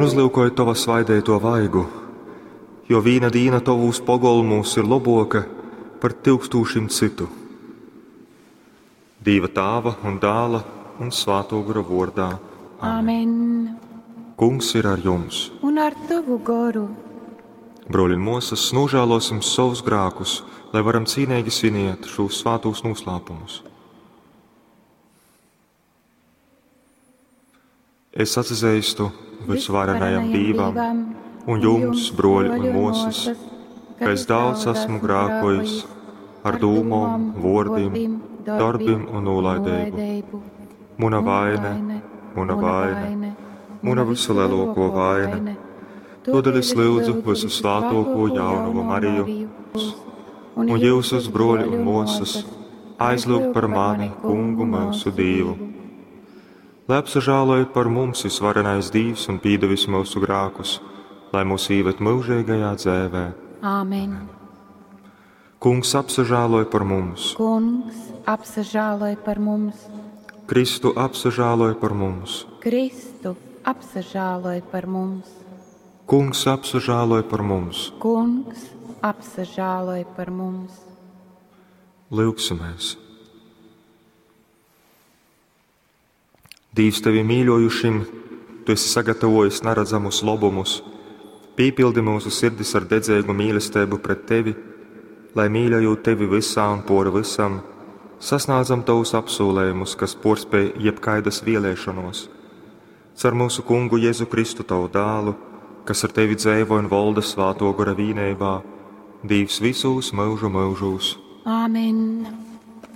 uzlyukoj tova svaideito vaigu, jo vīna dīna tovūs pogolmūs ir lobuoka par tyukstūšim cytu. Dīva Tāva un Dāla un Svātō Gora vuordā. Amen. Kungs ir ar jums. Un ar tavu goru. Bruoļi un muosas, nožēlosim savus grākus, lai varam cīnīgi sviniet šos svātos noslēpumus. Es atzīstu visvarenajam Dīvam un jums, bruoļi un muosas, ka es daudz esmu grākojis ar dūmom, vuordim, darbim un nolaidību. Muna vaine, muna vaine, muna visulielāko vaina. Todēļ es lūdzu visu svētāko jaunavu Mariju un jūsus bruoļi un muosas aizlūgt par mani, kungu mūsu Dievu. Lai apsažāloja par mums visvarenais Dievs un pīdevis mūsu grākus, lai mūs īved mūžīgajā dzēvē. Āmen. Kungs apsažāloja par mums. Kungs apsažāloj par mums. Kristu apsažāloja par mums. Kristu apsažāloj par mums. Kungs apsažāloja par mums. Kungs apsažāloj par mums. Lūgsimies! Dievs tevi mīļojušim, tu esi sagatavojis neredzamus labumus. Pīpildi mūsu sirdis ar dedzīgu mīlestību pret tevi, lai mīļojot tevi visā un pori visam, sasniedzam tavus apsolējumus, kas porspēj jebkaidas vēlēšanos. Cer mūsu kungu Jēzu Kristu tavu dālu, kas ar tevi dzēvo un valda svāto gora vīnībā, Dievs visos mūžu mūžos. Āmen.